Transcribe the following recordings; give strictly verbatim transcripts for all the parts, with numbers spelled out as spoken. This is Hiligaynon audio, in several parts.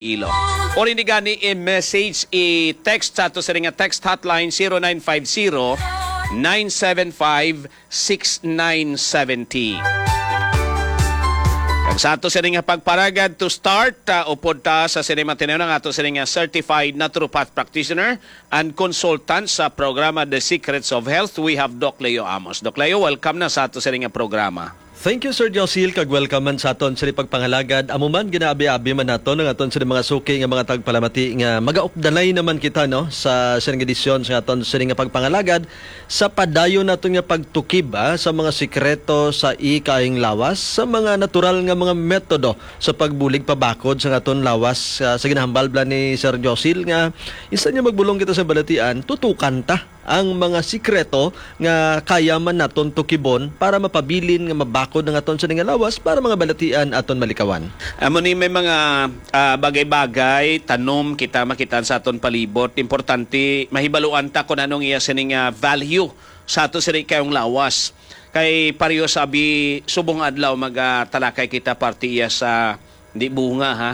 Ilo. Or ini gani i-message, i-text sa ato sini nga text hotline, zero nine five zero, nine seven five, six nine seven zero. Kag sa ato sini nga pagparagad to start, ah, upod ta sa sini matinunan ang ato sini nga certified naturopath practitioner and consultant sa programa The Secrets of Health. We have Doc Leo Amos. Doc Leo, welcome na sa ato sini nga programa. Thank you, Sir Josil, kag welcome man sa aton sini pagpangalagad. Amo man, ginaabi-abi man naton ang aton sini mga suki nga mga tagpalamati nga magaupdanay naman kita, no, sa sini nga edisyon sa aton sini nga pagpangalagad sa padayon naton nga pagtukib, ah, sa mga sikreto sa ikaayong lawas, sa mga natural nga mga metodo sa pagbulig pabakod sa aton lawas, ah, sa ginahambal bala ni Sir Josil nga insan nga magbulong kita sa balatian, tutukan ta ang mga sikreto nga kaya man naton tukibon para mapabilin nga mabakod ang aton sini nga lawas para mga balatian aton malikawan. Amo ni may mga, ah, bagay-bagay, tanom kita makitaan sa aton palibot. Importante mahibaluan ta kung anong iya sini nga value sa ato sini kayong lawas. Kay pareho sa abi, subong adlaw magatalakay kita parte iya sa, di bunga ha,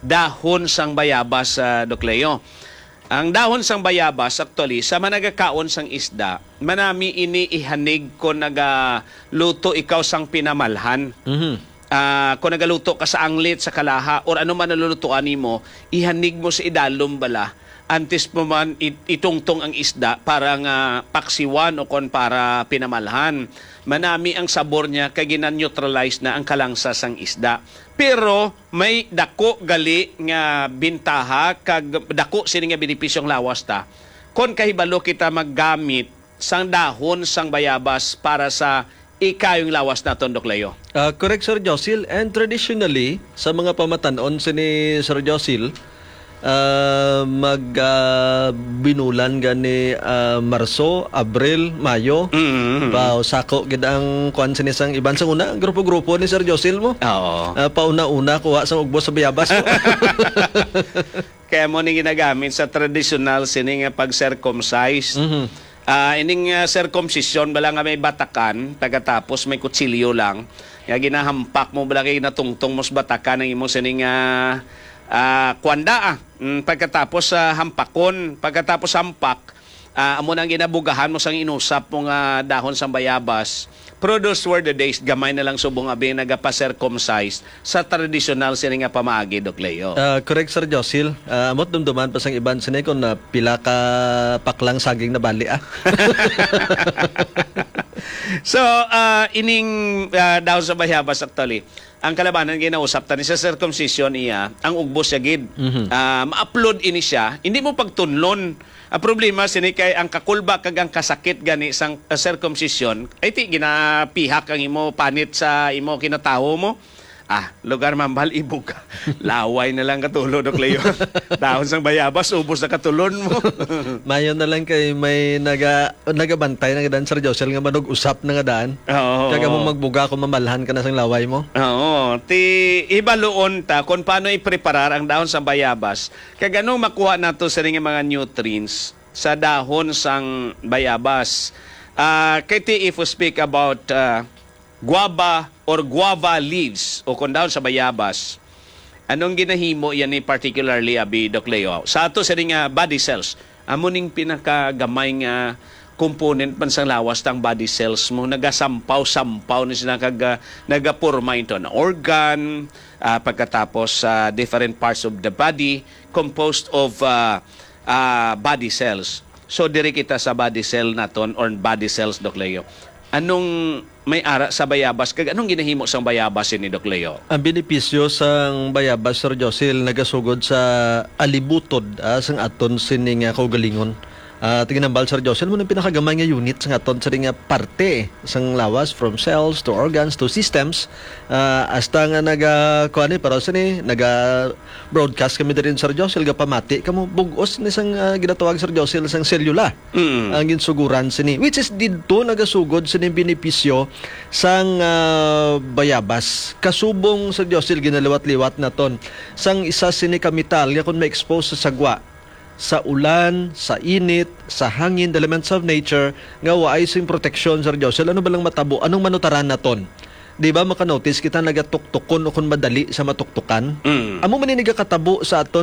dahon sang bayabas, ah, Doc Leo. Ang dahon sang bayabas, actually, sa managakaon sang isda, manami ini ihanig kon nagaluto ikaw sang pinamalhan. Mhm. Ah, kon nagaluto ka sa anglit, sa kalaha, or ano man ang lulutuan nimo, ihanig mo sa idalom bala. Antes mo man it-, itungtong ang isda para nga paksiwan o kon para pinamalhan. Manami ang sabor niya kay gina-neutralize na ang kalangsa sang isda. Pero may dako gali nga bintaha kag dako sini nga benepisyo ang lawas ta kon kahibalo kita maggamit sang dahon sang bayabas para sa ikayong lawas naton, Doc Leo. Ah, correct, Sir Josil. And traditionally, sa mga pamatan-on sini, Sir Josil, ah, mag, ah, binulan gani, ah, Marso, Abril, Mayo. Mm, mm, mm. Ba, sako gid ang kuwan sini sang iban sang una, grupo-grupo ni Sir Josil mo. Oo. Ah, pauna-una, kuha sang ugbos sa bayabas mo. Kaya mo ni ginagamit sa tradisyonal sini nga pag-circumcise. Mhm. Ah, ining, ah, circumcision, bala nga may batakan, pagkatapos may kutsilyo lang. Nga ginahampak mo, bala kay natungtong mo sa batakan ang imo sining, ah, ah, kwanda, ah. Mm, pagkatapos, ah, hampakon, pagkatapos hampak, ah, amo nang ginabugahan mo sang inusap mo nga dahon sang bayabas. Pero those were the days, gamay na lang subong abi nagapa-circumcise sa tradisyonal sini nga pamaagi, Doc Leo. Ah, correct, Sir Josil. Ah, amot dumduman pa sang iban sini kung, ah, pila ka paklang saging na bali, ah. So, ah, ining, ah, dahon sa bayabas, actually, ang kalabanan ginausap ta ni sa circumcision iya, ang ugbos ya gid. Mhm. Ah, ma-upload ini siya, hindi mo pagtunlon. Ang problema sini kay ang kakulba kag ang kasakit gani sang, ah, circumcision, ay ti ginapihak ang imo panit sa imo kinatawo mo. Ah, lugar mambal ibog ka. Laway na lang katulo, Doc Leo. Dahon sang bayabas, ubos na katulon mo. Mayo na lang kay may naga-, nagabantay na gadan, Sir Josel, nga manug-usap na nga daan. Oo. Kag amo magbuga kung mamalhan ka na sang laway mo. Oo. Ti, ibaluon ta kung paano ipreparar ang dahon sang bayabas. Kag anong makuha nato sa nga mga nutrients sa dahon sang bayabas. Ah, kay ti, if we speak about, ah, guava or guava leaves o kon dahon sa bayabas, anong ginahimo yan ni particularly, abi, Doc Leo? Sa ato sa nga body cells, amo ning pinakagamay nga component man sang lawas tang body cells mo. Nagasampaw-sampaw ni sila kag, ah, nagaporma into an organ, ah, pagkatapos sa different parts of the body composed of, ah, ah, body cells. So, diri kita sa body cell naton or body cells, Doc Leo. Anong may ara sa bayabas kag anong ginahimo sang bayabas ini, Doc Leo? Ang benepisyo sang bayabas, Sir Josil, nagasugod sa alibutod, ah, sang aton sini nga kaugalingon. Ah, tiginambal, Sir Josil, mo nang pinakagamay nga unit sang aton sini nga parte sang lawas, from cells to organs to systems. Ah, hasta nga naga, kuan ni, pero sini, naga broadcast kami diri, Sir Josel, gapamati kamo, bug-os ni sang, ah, ginatawag, Sir Josel, sang selula. Mm. Ang ginsuguran sini, which is didto nagasugod sini benepisyo sang, ah, bayabas. Kasubong, Sir Josel, ginaliwat-liwat naton sang isa sini ka metal nga kung ma-expose sa sagwa, sa ulan, sa init, sa hangin, the elements of nature, nga waay sing proteksyon, Sir Josel, ano ba lang matabo? Anong manutaran naton? Di ba, maka-notice kita nagatuktukon o kung madali sa matuktukan? Mm. Amo man ni nagakatabo sa aton